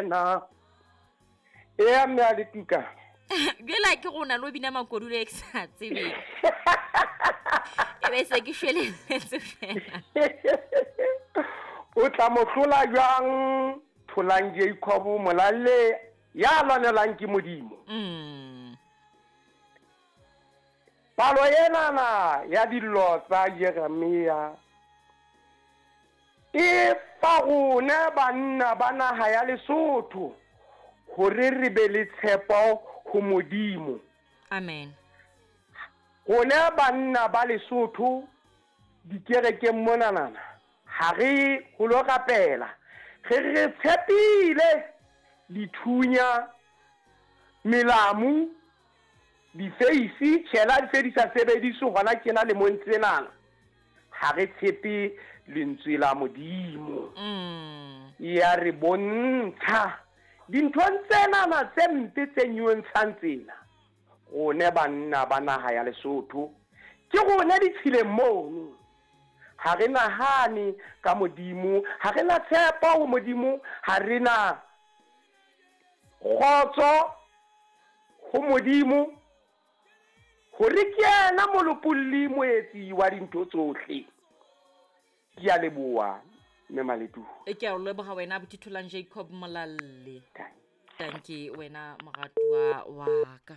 Morena. Ea mme a le tuka. Bjela ke gona lo bina makodulo e ke sa tsebeng. E be se ke shweleletse fela. O tla mo hlola jwang Tholang Jacob Molalle ya lwanelang ke Modimo? Palo enana ya dillo tsa Jeremia e fa rona banna ba naha ya Lesotho hore re be le tshepo ho Modimo. Amen. Rona banna ba Lesotho dikerekeng monanana ha re ho lo rapela, re re tshepile dithunya, melamu, Difeisi, tjhela di se di sa sebediswe hona tjena lemong tsenana. Ha re tshepe lentswe la Modimo. Ya re bontsha dinthong tsenana tse mpe tse nyontshang tsena. Rone banna ba naha ya Lesotho ke rone ditshileng mono. Ha re nahane ka Modimo, ha re na tshepo ho Modimo, ha re na kgotso ho Modimo, hore ke yena Molopolli Moetsi wa dintho tsohle. Ke a leboha, Mme Maletuhu. Ke a o leboha wena abuti Tholang Jacob Molalle. Tanki wena moratuwa wa ka.